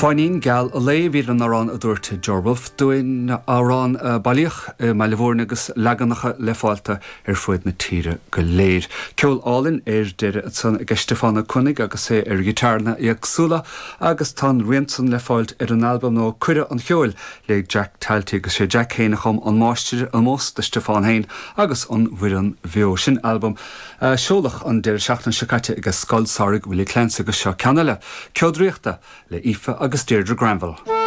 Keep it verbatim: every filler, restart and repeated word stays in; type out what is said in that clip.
Fáinnín Geal an Lae bhí an amhrán a dúirt Joe Wolf dúinn amhrán bailíodh i mBaile Mhúirne agus leaganacha le fáil ar fud na tíre go léir. Ceol álainn ar deireadh ansan ag Stiofán Ó Coinnigh agus é ar ghiotáranna éagsúla agus tá an rian san le fáilt ar an albam nó Cuireadh an Cheoil le Jack Talty agus sé Jack féin a chum an máistir-ómós do Stiofán féin agus an bhfoireann bheo sin albam uh, seoladh an deireadh seachtaine seo caite ag Scoil Samhraidh Willie Clancy agus seo ceann eile. Ceol Draíochta le Aoife agus Deirdre Granville.